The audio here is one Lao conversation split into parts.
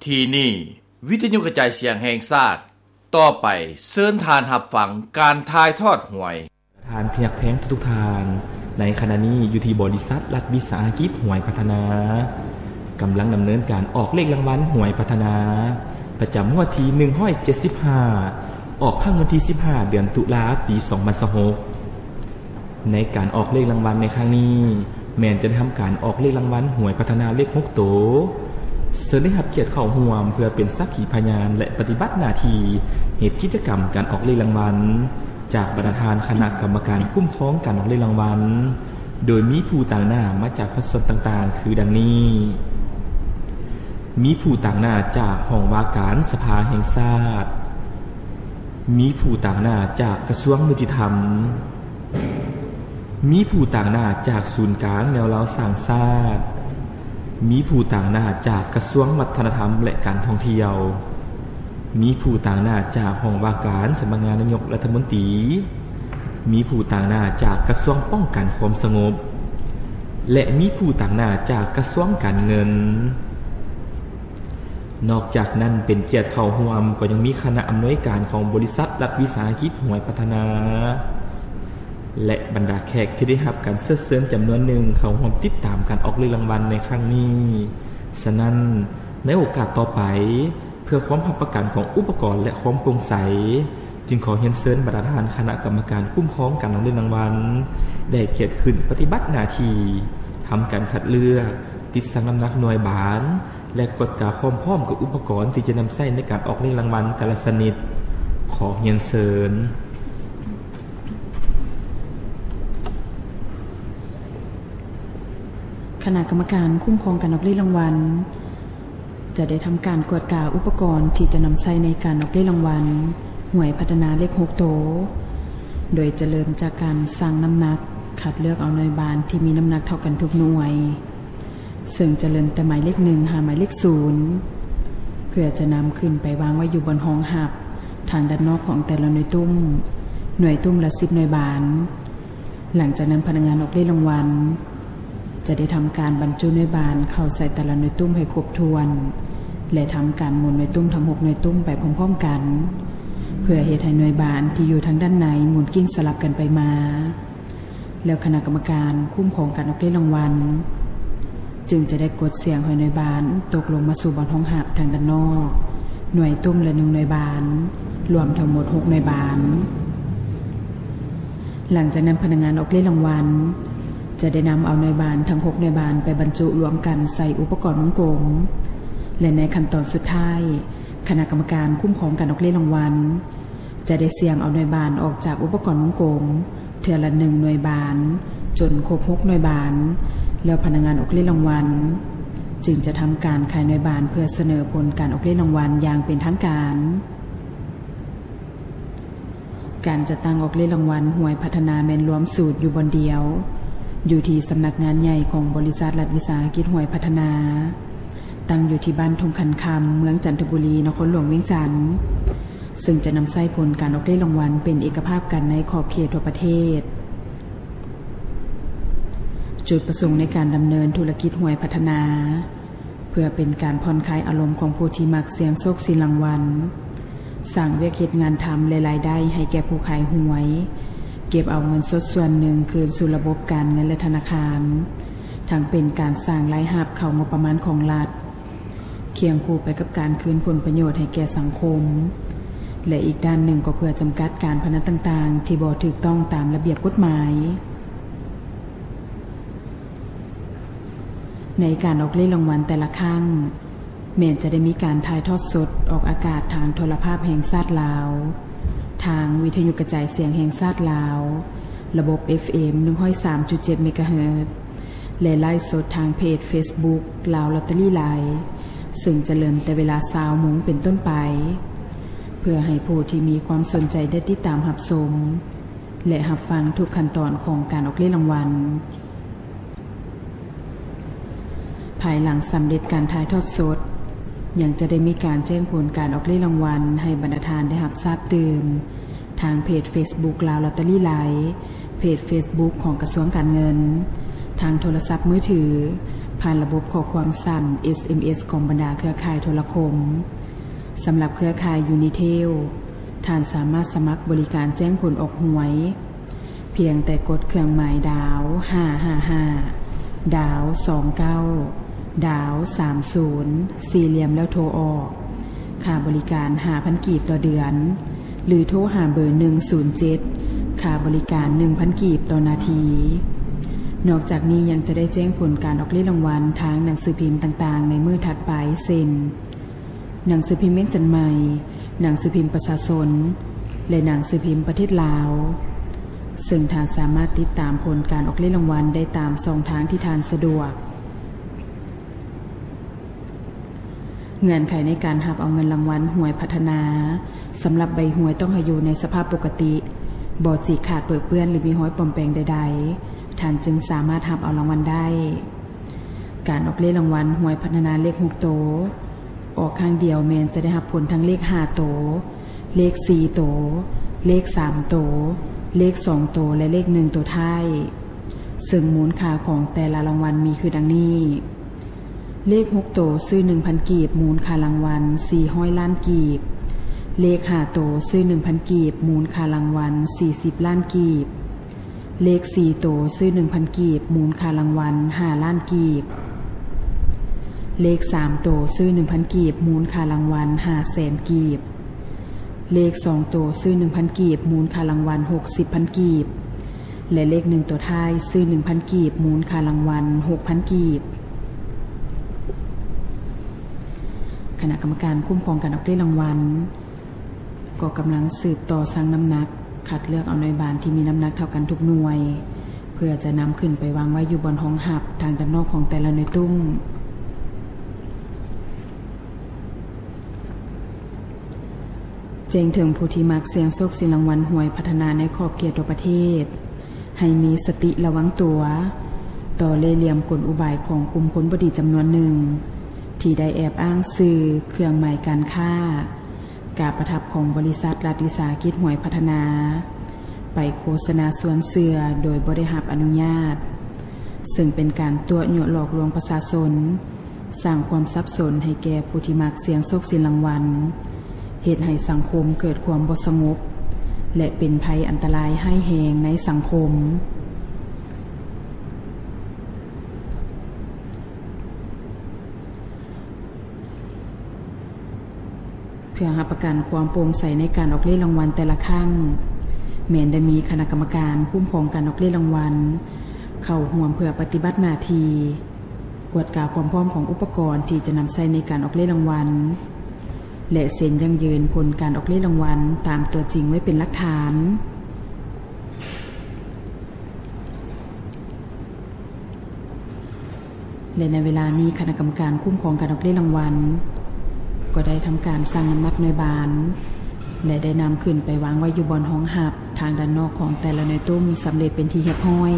ທີ່ນີ້ ວິທະຍຸກະຈາຍສຽງແຫ່ງຊາດ, ຕໍ່ໄປເຊີນທ່ານຮັບຟັງການຖ່າຍທອດຫວຍ. ທ່ານທີ່ຮັກແພງທຸກໆທ່ານ, ໃນຂະນະນີ້ຢູ່ທີ່ບໍລິສັດລັດວິສາຫະກິດຫວຍພັດທະນາ ກຳລັງດຳເນີນການອອກເລກລາງວັນຫວຍພັດທະນາ ປະຈຳງວດທີໜຶ່ງຮ້ອຍເຈັດສິບຫ້າ ອອກຄັ້ງວັນທີສິບຫ້າ ເດືອນຕຸລາ ປີສອງພັນຊາວຫົກ. ໃນການອອກເລກລາງວັນໃນຄັ້ງນີ້ ແມ່ນຈະໄດ້ທຳການອອກເລກລາງວັນຫວຍພັດທະນາເລກຫົກໂຕ. ເຊີນໄດ້ຮັບກຽດເຂົ້າຮ່ວມເພື່ອເປັນສັກຂີພະຍານ ແລະ ປະຕິບັດໜ້າທີ່ເຮັດກິດຈະກຳການອອກເລກລາງວັນ ຈາກບັນດາທ່ານຄະນະກຳມະການຄຸ້ມຄອງການອອກເລກລາງວັນ ໂດຍມີຜູ້ຕາງໜ້າມາຈາກພາກສ່ວນຕ່າງໆ ຄືດັ່ງນີ້: ມີຜູ້ຕາງໜ້າຈາກຫ້ອງວ່າການສະພາແຫ່ງຊາດ, ມີຜູ້ຕາງໜ້າຈາກກະຊວງຍຸຕິທຳ, ມີຜູ້ຕາງໜ້າຈາກສູນກາງແນວລາວສ້າງຊາດ, ມີຜູ້ຕາງໜ້າຈາກກະຊວງວັດທະນະທຳ ແລະ ການທ່ອງທ່ຽວ, ມີຜູ້ຕາງໜ້າຈາກຫ້ອງວ່າການສຳນັກງານນາຍົກລັດຖະມົນຕີ, ມີຜູ້ຕາງໜ້າຈາກກະຊວງປ້ອງກັນຄວາມສະຫງົບ ແລະ ມີຜູ້ຕາງໜ້າຈາກກະຊວງການເງິນ. ນອກຈາກນັ້ນ ເປັນກຽດເຂົ້າຮ່ວມກໍຍັງມີຄະນະອຳນວຍການຂອງບໍລິສັດລັດວິສາຫະກິດຫວຍພັດທະນາ ແລະ ບັນດາແຂກທີ່ໄດ້ຮັບການເຊີນເຊີນຈຳນວນໜຶ່ງເຂົ້າຮ່ວມຕິດຕາມການອອກເລກລາງວັນໃນຄັ້ງນີ້. ສະນັ້ນ, ໃນໂອກາດຕໍ່ໄປ, ເພື່ອຄວາມຮັບປະກັນຂອງອຸປະກອນ ແລະ ຄວາມໂປ່ງໃສ, ຈຶ່ງຂໍຮຽນເຊີນບັນດາທ່ານຄະນະກຳມະການຄຸ້ມຄອງການອອກເລກລາງວັນ ໄດ້ກຽດຂຶ້ນປະຕິບັດໜ້າທີ່, ທຳການຄັດເລືອກ, ຕິດຊັ່ງນ້ຳໜັກໜ່ວຍບານ ແລະ ກວດກາຄວາມພ້ອມກັບອຸປະກອນທີ່ຈະນຳໃຊ້ໃນການອອກເລກລາງວັນແຕ່ລະຊະນິດ. ຂໍຮຽນເຊີນ. ຄະນະກຳມະການຄຸ້ມຄອງການອອກເລກລາງວັນ ຈະໄດ້ທຳການກວດກາອຸປະກອນທີ່ຈະນຳໃຊ້ໃນການອອກເລກລາງວັນຫວຍພັດທະນາເລກຫົກໂຕ, ໂດຍຈະເລີ່ມຈາກການຊັ່ງນ້ຳໜັກ, ຄັດເລືອກເອົາໜ່ວຍບານທີ່ມີນ້ຳໜັກເທົ່າກັນທຸກໜ່ວຍ, ເຊິ່ງຈະເລີ່ມແຕ່ໝາຍເລກໜຶ່ງຫາໝາຍເລກສູນ ເພື່ອຈະນຳຂຶ້ນໄປວາງໄວ້ຢູ່ບ່ອນຮອງຮັບທາງດ້ານນອກຂອງແຕ່ລະໜ່ວຍຕຸ້ມ, ໜ່ວຍຕຸ້ມລະສິບໜ່ວຍບານ. ຫຼັງຈາກນັ້ນ ພະນັກງານອອກເລກລາງວັນຈະໄດ້ທຳການບັນຈຸໜ່ວຍບານເຂົ້າໃສ່ແຕ່ລະໜ່ວຍຕຸ້ມໃຫ້ຄົບຖ້ວນ ແລະ ທຳການໝູນໜ່ວຍຕຸ້ມທັງຫົກໜ່ວຍຕຸ້ມໄປພ້ອມໆກັນ ເພື່ອເຮັດໃຫ້ໜ່ວຍບານທີ່ຢູ່ທາງດ້ານໃນໝູນກິ້ງສະຫຼັບກັນໄປມາ. ແລ້ວຄະນະກຳມະການຄຸ້ມຄອງການອອກເລກລາງວັນ ຈຶ່ງຈະໄດ້ກົດສ່ຽງໃຫ້ໜ່ວຍບານຕົກລົງມາສູ່ບ່ອນຮອງຮັບທາງດ້ານນອກ ໜ່ວຍຕຸ້ມລະໜຶ່ງໜ່ວຍບານ, ລວມທັງໝົດຫົກໜ່ວຍບານ. ຫຼັງຈາກນັ້ນ ພະນັກງານອອກເລກລາງວັນຈະໄດ້ນຳເອົາໜ່ວຍບານທັງຫົກໜ່ວຍບານໄປບັນຈຸລວມກັນໃສ່ອຸປະກອນວົງກົມ ແລະ ໃນຂັ້ນຕອນສຸດທ້າຍ ຄະນະກຳມະການຄຸ້ມຄອງການອອກເລກລາງວັນ ຈະໄດ້ສ່ຽງເອົາໜ່ວຍບານອອກຈາກອຸປະກອນວົງກົມເທື່ອລະໜຶ່ງໜ່ວຍບານ ຈົນຄົບຫົກໜ່ວຍບານ, ແລ້ວພະນັກງານອອກເລກລາງວັນຈຶ່ງຈະທຳການຂາຍໜ່ວຍບານເພື່ອສະເໜີຜົນການອອກເລກລາງວັນຢ່າງເປັນທາງການ. ການຈັດຕັ້ງອອກເລກລາງວັນຫວຍພັດທະນາແມ່ນລວມສູດຢູ່ບ່ອນດຽວ ຢູ່ທີ່ສຳນັກງານໃຫຍ່ຂອງບໍລິສັດລັດວິສາຫະກິດຫວຍພັດທະນາ, ຕັ້ງຢູ່ທີ່ບ້ານທົ່ງຂັນຄຳ ເມືອງຈັນທະບູລີ ນະຄອນຫຼວງວຽງຈັນ. ເຊິ່ງຈະນຳໃຊ້ຜົນການອອກເລກລາງວັນເປັນເອກະພາບກັນໃນຂອບເຂດທົ່ວປະເທດ. ຈຸດປະສົງໃນການດຳເນີນທຸລະກິດຫວຍພັດທະນາ ເພື່ອເປັນການຜ່ອນຄາຍອາລົມຂອງຜູ້ທີ່ມັກສ່ຽງໂຊກສ່ຽງລາງວັນ, ສ້າງວຽກເຮັດງານທຳ ແລະ ລາຍໄດ້ໃຫ້ແກ່ຜູ້ຂາຍຫວຍ, ເກັບເອົາເງິນສົດສ່ວນໜຶ່ງຄືນສູ່ລະບົບການເງິນ ແລະ ທະນາຄານ, ທັງເປັນການສ້າງລາຍຮັບເຂົ້າງົບປະມານຂອງລັດ, ຄຽງຄູ່ໄປກັບການຄືນຜົນປະໂຫຍດໃຫ້ແກ່ສັງຄົມ ແລະ ອີກດ້ານໜຶ່ງກໍເພື່ອຈຳກັດການພະນັນຕ່າງໆ ທີ່ບໍ່ຖືກຕ້ອງຕາມລະບຽບກົດໝາຍ. ໃນການອອກເລກລາງວັນແຕ່ລະຄັ້ງ ແມ່ນຈະໄດ້ມີການຖ່າຍທອດສົດອອກອາກາດທາງໂທລະພາບແຫ່ງຊາດລາວ, ທາງວິທະຍຸກະຈາຍສຽງແຫ່ງຊາດລາວ, ລະບົບ ເອັຟເອັມ ໜຶ່ງຮ້ອຍສາມຈຸດເຈັດ ເມກາເຮີດ ແລະ ໄລຟ໌ສົດທາງເພຈເຟສບຸກ ລາວລອດເຕີຣີໄລຟ໌ ເຊິ່ງຈະເລີ່ມແຕ່ເວລາຊາວໂມງເປັນຕົ້ນໄປ ເພື່ອໃຫ້ຜູ້ທີ່ມີຄວາມສົນໃຈໄດ້ຕິດຕາມຮັບຊົມ ແລະ ຮັບຟັງທຸກຂັ້ນຕອນຂອງການອອກເລກລາງວັນ. ພາຍຫຼັງສຳເລັດການຖ່າຍທອດສົດ, ຍັງຈະໄດ້ມີການແຈ້ງຜົນການອອກເລກລາງວັນໃຫ້ບັນດາທ່ານໄດ້ຮັບຊາບຕື່ມ ທາງເພຈເຟສບຸກ ລາວລອດເຕີຣີໄລຟ໌, ເພຈເຟສບຸກຂອງກະຊວງການເງິນ, ທາງໂທລະສັບມືຖື, ເພ ຜ່ານລະບົບຂໍ້ຄວາມສັ້ນ ເອສເອັມເອສ ຂອງບັນດາເຄືອຂ່າຍໂທລະຄົມ. ສຳລັບເຄືອຂ່າຍ Unitel ທ່ານສາມາດສະໝັກບໍລິການແຈ້ງຜົນອອກຫວຍ ພຽງແຕ່ກົດເຄື່ອງໝາຍດາວ ຫ້າຫ້າຫ້າ ດາວ ສອງເກົ້າ ດາວ ສາມສູນ ສີ່ຫຼ່ຽມ ແລ້ວໂທອອກ. ຄ່າບໍລິການ ຫ້າພັນ ກີບຕໍ່ເດືອນ ຫຼື ໂທຫາເບີ ໜຶ່ງສູນເຈັດ ຄ່າບໍລິການ ໜຶ່ງພັນ ກີບຕໍ່ນາທີ. ນອກຈາກນີ້ຍັງຈະໄດ້ແຈ້ງຜົນການອອກເລກລາງວັນທາງໜັງສືພິມຕ່າງໆໃນມື້ຖັດໄປ ເຊັ່ນ ໜັງສືພິມວຽງຈັນໃໝ່, ໜັງສືພິມປະຊາຊົນ ແລະ ໜັງສືພິມປະເທດລາວ, ເຊິ່ງທ່ານສາມາດຕິດຕາມຜົນການອອກເລກລາງວັນໄດ້ຕາມຊ່ອງທາງທີ່ທ່ານສະດວກ. ເງື່ອນໄຂໃນການຮັບເອົາເງິນລາງວັນຫວຍພັດທະນາ ສຳລັບໃບຫວຍຕ້ອງໃຫ້ຢູ່ໃນສະພາບປົກກະຕິ, ບໍ່ຈີກຂາດເປິເປື້ອນ ຫຼື ມີຮອຍປອມແປງໃດໆ, ທ່ານຈຶ່ງສາມາດຮັບເອົາລາງວັນໄດ້. ການອອກເລກລາງວັນຫວຍພັດທະນາເລກຫົກໂຕ ອອກຄັ້ງດຽວແມ່ນຈະໄດ້ຮັບຜົນທັງເລກຫ້າໂຕ, ເລກສີ່ໂຕ, ເລກສາມໂຕ, ເລກສອງໂຕ ແລະ ເລກໜຶ່ງໂຕທ້າຍ, ເຊິ່ງມູນຄ່າຂອງແຕ່ລະລາງວັນມີຄືດັ່ງນີ້. ເລກຫົກໂຕຊື້ໜຶ່ງພັນກີບ ມູນຄ່າລາງວັນສີ່ຮ້ອຍລ້ານກີບ. ເລກຫ້າໂຕຊື້ໜຶ່ງພັນກີບ ມູນຄ່າລາງວັນສີ່ສິບລ້ານກີບ. ເລກສີ່ໂຕຊື້ໜຶ່ງພັນກີບ ມູນຄ່າລາງວັນຫ້າລ້ານກີບ. ເລກສາມໂຕຊື້ໜຶ່ງພັນກີບ ມູນຄ່າລາງວັນຫ້າແສນກີບ. ເລກສອງໂຕຊື້ໜຶ່ງພັນກີບ ມູນຄ່າລາງວັນຫົກສິບພັນກີບ ແລະ ເລກໜຶ່ງໂຕທ້າຍຊື້ໜຶ່ງພັນກີບ ມູນຄ່າລາງວັນຫົກພັນກີບ. ຄະນະກຳມະການຄຸ້ມຄອງການອອກເລກລາງວັນ ກໍກຳລັງສືບຕໍ່ຊັ່ງນ້ຳໜັກ, ຄັດເລືອກເອົາໜ່ວຍບານທີ່ມີນ້ຳໜັກເທົ່າກັນທຸກໜ່ວຍ ເພື່ອຈະນຳຂຶ້ນໄປວາງໄວ້ຢູ່ບ່ອນຮອງຮັບທາງດ້ານນອກຂອງແຕ່ລະໜ່ວຍຕຸ້ມ. ແຈ້ງເຖິງຜູ້ທີ່ມັກສ່ຽງໂຊກສ່ຽງລາງວັນຫວຍພັດທະນາໃນຂອບເຂດທົ່ວປະເທດ ໃຫ້ມີສະຕິລະວັງຕົວ ຕໍ່ເລ່ຫຼ່ຽມກົນອຸບາຍຂອງກຸ່ມຄົນບໍ່ດີຈຳນວນໜຶ່ງ ທີ່ໄດ້ແອບອ້າງຊື່, ເຄື່ອງໝາຍການຄ້າ, ກາປະທັບຂອງບໍລິສັດລັດວິສາຫະກິດຫວຍພັດທະນາ ໄປໂຄສະນາຊວນເຊື່ອໂດຍບໍ່ໄດ້ຮັບອະນຸຍາດ, ເຊິ່ງເປັນການຕົວະຍົວະຫຼອກລວງປະຊາຊົນ, ສ້າງຄວາມສັບສົນໃຫ້ແກ່ຜູ້ທີ່ມັກສ່ຽງໂຊກສ່ຽງລາງວັນ, ເຮັດໃຫ້ສັງຄົມເກີດຄວາມບໍ່ສະຫງົບ ແລະ ເປັນໄພອັນຕະລາຍຮ້າຍແຮງໃນສັງຄົມ. ເພື່ອຮັບປະກັນຄວາມໂປ່ງໃສໃນການອອກເລກລາງວັນແຕ່ລະຄັ້ງ, ແມ່ນໄດ້ມີຄະນະກຳມະການຄຸ້ມຄອງການອອກເລກລາງວັນເຂົ້າຮ່ວມເພື່ອປະຕິບັດໜ້າທີ່, ກວດກາຄວາມພ້ອມຂອງອຸປະກອນທີ່ຈະນຳໃຊ້ໃນການອອກເລກລາງວັນ ແລະ ເຊັນຢັ້ງຢືນຜົນການອອກເລກລາງວັນຕາມຕົວຈິງໄວ້ເປັນຫຼັກຖານ. ແລະ ໃນເວລານີ້ ຄະນະກຳມະການຄຸ້ມຄອງການອອກເລກລາງວັນ ກໍໄດ້ທຳການຊັ່ງນ້ຳໜັກໜ່ວຍບານ ແລະ ໄດ້ນຳຂຶ້ນໄປວາງໄວ້ຢູ່ບ່ອນຮອງຮັບທາງດ້ານນອກຂອງແຕ່ລະໜ່ວຍຕຸ້ມສຳເລັດເປັນທີ່ຮຽບຮ້ອຍ.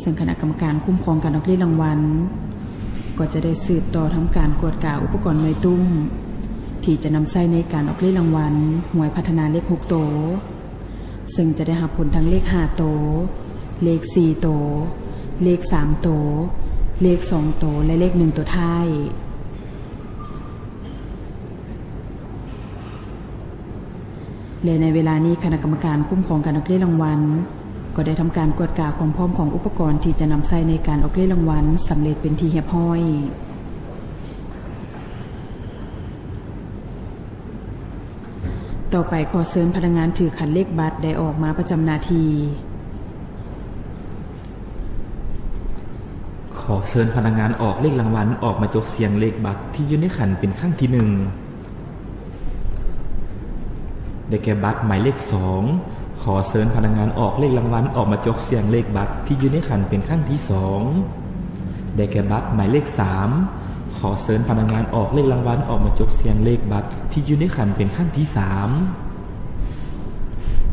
ເຊິ່ງຄະນະກຳມະການຄຸ້ມຄອງການອອກເລກລາງວັນ ກໍຈະໄດ້ສືບຕໍ່ທຳການກວດກາອຸປະກອນໜ່ວຍຕຸ້ມ ທີ່ຈະນຳໃຊ້ໃນການອອກເລກລາງວັນຫວຍພັດທະນາເລກຫົກໂຕ. ເຊິ່ງຈະໄດ້ຮັບຜົນທັງເລກຫ້າໂຕ, ເລກສີ່ໂຕ, ເລກສາມໂຕ, ເລກສອງໂຕ ແລະ ເລກໜຶ່ງໂຕທ້າຍ. ແລະ ໃນເວລານີ້ ຄະນະກຳມະການຄຸ້ມຄອງການອອກເລກລາງວັນ ກໍໄດ້ທຳການກວດກາຄວາມພ້ອມຂອງອຸປະກອນທີ່ຈະນຳໃຊ້ໃນການອອກເລກລາງວັນສຳເລັດເປັນທີ່ຮຽບຮ້ອຍ. ຕໍ່ໄປ ຂໍເຊີນພະນັກງານຖືຂັນເລກບັດໄດ້ອອກມາປະຈຳໜ້າທີ່. ຂໍເຊີນພະນັກງານອອກເລກລາງວັນອອກມາຈົກສ່ຽງເລກບັດທີ່ຢູ່ໃນຂັນເປັນຄັ້ງທີໜຶ່ງ. ໄດ້ແກ່ບັດໝາຍເລກສອງ. ຂໍເຊີນພະນັກງານອອກເລກລາງວັນອອກມາຈົກສ່ຽງເລກບັດທີ່ຢູ່ໃນຂັນເປັນຄັ້ງທີສອງ. ໄດ້ແກ່ບັດໝາຍເລກສາມ. ຂໍເຊີນພະນັກງານອອກເລກລາງວັນອອກມາຈົກສ່ຽງເລກບັດທີ່ຢູ່ໃນຂັນເປັນຄັ້ງທີສາມ.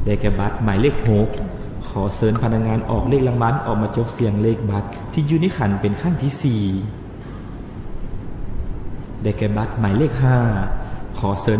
ໄດ້ແກ່ບັດໝາຍເລກຫົກ. ຂໍເຊີນພະນັກງານອອກເລກລາງວັນອອກມາຈົກສ່ຽງເລກບັດທີ່ຢູ່ໃນຂັນເປັນຄັ້ງທີສີ່. ໄດ້ແກ່ບັດໝາຍເລກຫ້າ. ຂໍເຊີນ